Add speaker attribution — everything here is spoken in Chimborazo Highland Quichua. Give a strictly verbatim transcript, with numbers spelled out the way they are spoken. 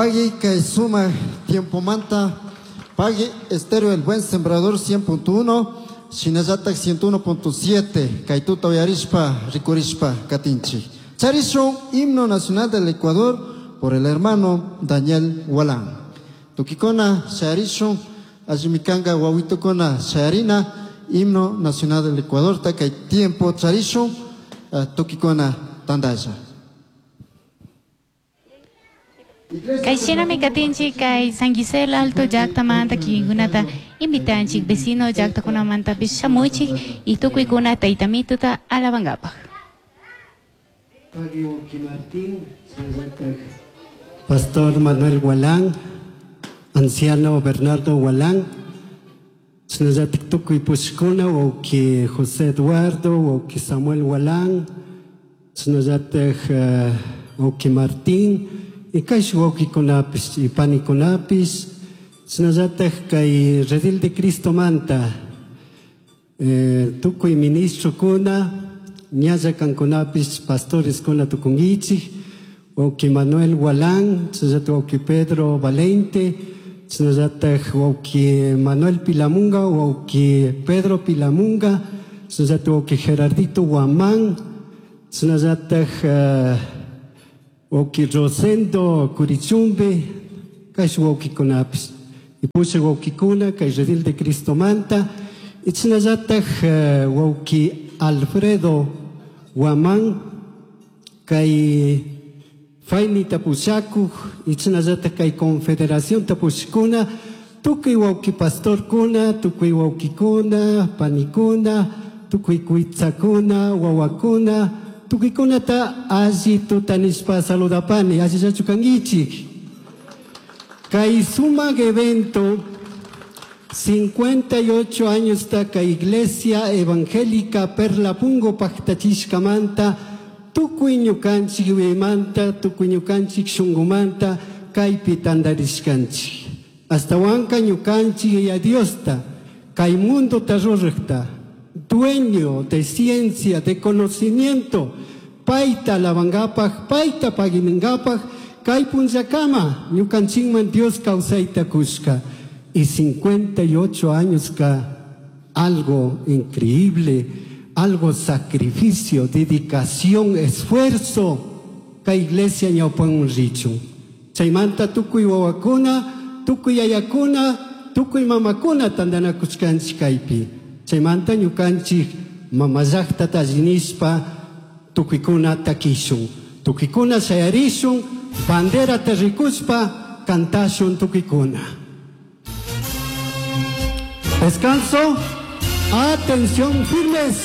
Speaker 1: Pagui kay sumak tiempomanta Pagui Estéreo El Buen Sembrador cien punto uno, shinallatak ciento uno punto siete, kay tuta uyarishpa, rikurishpa katinchik. Charishun himno nacional del Ecuador por el hermano Daniel Gualán. Tukikuna sharishun, allimikanga wawitukuna sharina, himno nacional del Ecuador, ta kay tiempo charishun, uh, tukikuna tandalla.
Speaker 2: Kay shinami katinchik kay San Gisela Alto llaktamanta kikinkunata invitanchik vecino llaktakunamantapish shamuychik y tukuykuna taytamituta alabankapaj.
Speaker 3: Pagui Wauki Martín, Pastor Manuel Gualán, Anciano Bernardo Gualán, shinallatak tukuy pushkuna, wauki José Eduardo, wauki Samuel Gualán, shinallatak, eh, wauki Martín, y kay waukikunapis y panikunapis, shinallatak kay Redil de Cristo manta, eh, tukuy ministrokuna, ñalla kankunapis, pastores kuna tukunkichik, wauki Manuel Gualán, shinallatak wauki Pedro Valente, shinallatak wauki Manuel Pilamunga, wauki Pedro Pilamunga, shinallatak wauki Gerardito Guamán, shinallatak, eh, wauki Rosendo Curichumbe, kay waukikunapis. Y pusha waukikuna, kay Redil de Cristo manta, y shinallatak, eh, wauki Alfredo Guamán, kay Faini Tapushaku, y shinallatak kay Confederación Tapushkuna, tukuy wauki pastorkuna, tukuy waukikuna, panikuna, tukuy kuitsakuna, wawakuna, tukuykunata alli tutanishpa saludapani, allillachu kankichik. Kay sumak evento, cincuenta y ocho años ta kay Iglesia Evangélica Perla Pungo paktachishkamanta, tukuy ñukanchik yuyaymanta, tukuy ñukanchik shunkumanta, kaypi tantarishkanchik. Astawanka ñukanchik Yaya Diosta, kay mundota ruraqta, dueño de ciencia, de conocimiento, payta alabankapaj, payta paguininkapaj, kay punllakama ñukanchikman Dios kawsayta kushka. Y cincuenta y ocho años ka algo increíble, algo sacrificio, dedicación, esfuerzo, ka iglesia ñawpan richun. Chaymanta tukuy wawakuna, tukuy yayakuna, tukuy mamakuna tantanakushkanchik kaypi. Chaymanta ñukanchik mama llaqtata allinishpa tukuykuna takishun, tukuykuna shayarishun, banderata rikushpa kantashun tukuykuna. Descanso, atención, firmes.